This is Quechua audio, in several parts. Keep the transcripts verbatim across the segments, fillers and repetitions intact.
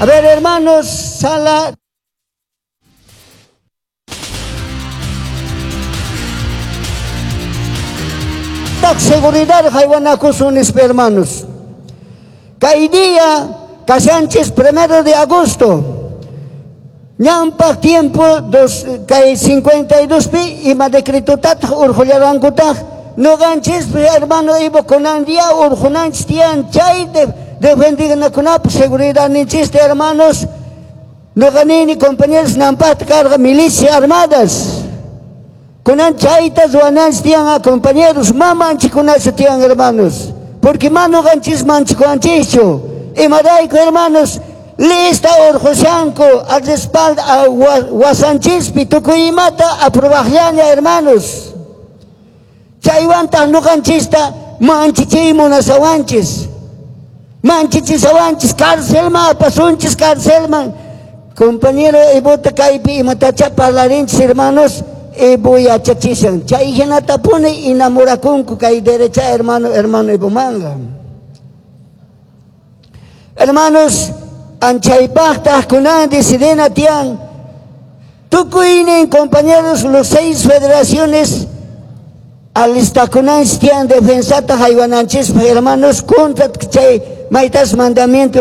A ver, hermanos, sala. Seguridad haywanakusun, hermanos. Kay día, kashanchis primero de agosto. Ñampaq tiempo dos, kay cincuenta y dos pi ima decretotataq urqullarankutaq nuqanchis hermano Ivo kunan día urqunanchis tiyan chay de, defendinakunapaq seguridadninchista hermanos. Nuqanini compañeros nampaqta karqa milicia armadas. Kunan chayta ruwananchis tiyan compañeros mamanchikunachu tiyan hermanos. Porque ma nuqanchis manchikuanchischu. Imarayku hermanos lista urqushanku al respaldo a wasanchispi tukuy imata aprobaqllaña hermanos. Chaywantaq nuqanchista manchichiy munasawanchis. Manchichisawanchis carcelman apasunchis carcelman. Compañero Evota kaypi imatacha parlarinchis hermanos. Evo yachachishan. Chay hinatapuni enamorakunku kay derecha hermano hermano Evo manga. Hermanos, anchaypaqtaq kunan decidena tiyan tukuynin compañeros los seis federaciones alistakunanchis tiyan defensata haywananchispa hermanos contra chay maytas mandamiento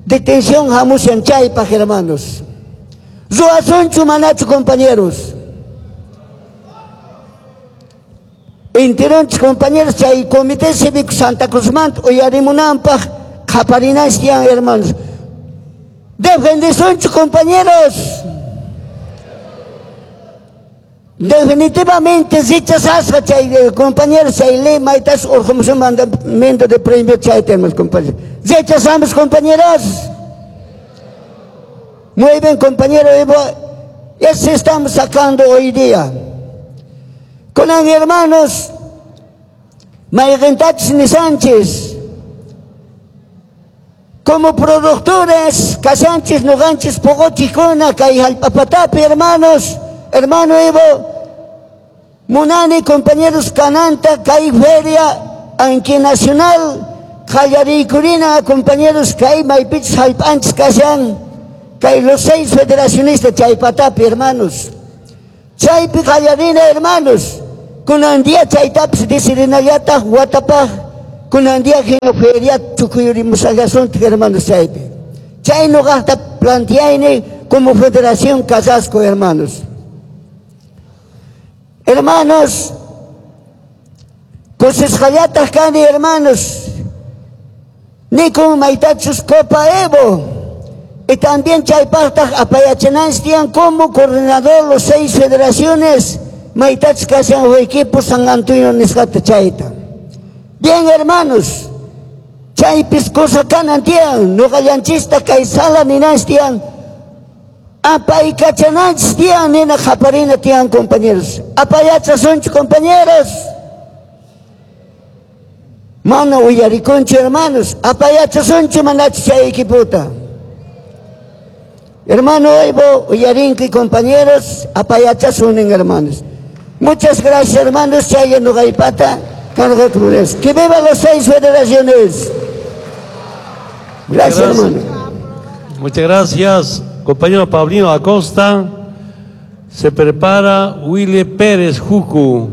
detención hamushan chaypaq hermanos. Ruwasunchu manachu compañeros. Enteronchis compañeros chay comité cívico Santa Cruzmanta uyarimunanpaq qaparinanchis tiyan hermanos. Defendesunchu compañeros. Definitivamente rechazasqa chay compañeros chay ley maytas urqumusun mandamiento de premio chay tenemos compañeros. Rechazamos compañeros. Muy bien compañero Evo, eso estamos sacando hoy día. Con hermanos, mayqintachis ni Sánchez, como productores, kashanchis, nuqanchis, poqochikuna, kay hallp'apatapi, hermanos, hermano Evo, munani, compañeros, kananta, kay feria, anki nacional, qallariykurina, compañeros, kay maypichis hallp'anchis kashan, kay los seis federacionistas, chaypatapi, hermanos. Chaypi qallarina, hermanos. Kunan día chaytapis decidinallataq watapaq kunan día hina feria tukuyurimusallasunchik hermanos chaypi. Chay nuqaqta planteayni como Federación Casasco, hermanos. Hermanos, kusisqallataq kani, hermanos. Nikun maytachus Copa Evo. Y también chaypaqtaq apayachananchis tiyan como coordinador los seis federaciones maytachus kashan equipo San Antonio nisqata chayta. Bien, hermanos, chaypis cosa kanan tiyan, nuqallanchista kay sala ninanchis tiyan, apaykachananchis tiyan, nina qaparina tiyan, compañeros. Apayachasunchu, compañeros. Mana uyarikunchu, hermanos. Apayachasunchu manachu chay equipota. Hermano Evo, uyarinki, compañeros, apayachasunin, hermanos. Muchas gracias, hermanos. Chay nuqaypata. Que viva las seis federaciones. Gracias, hermano. Muchas gracias, compañero Pablino Acosta. Se prepara Willy Pérez Jucu.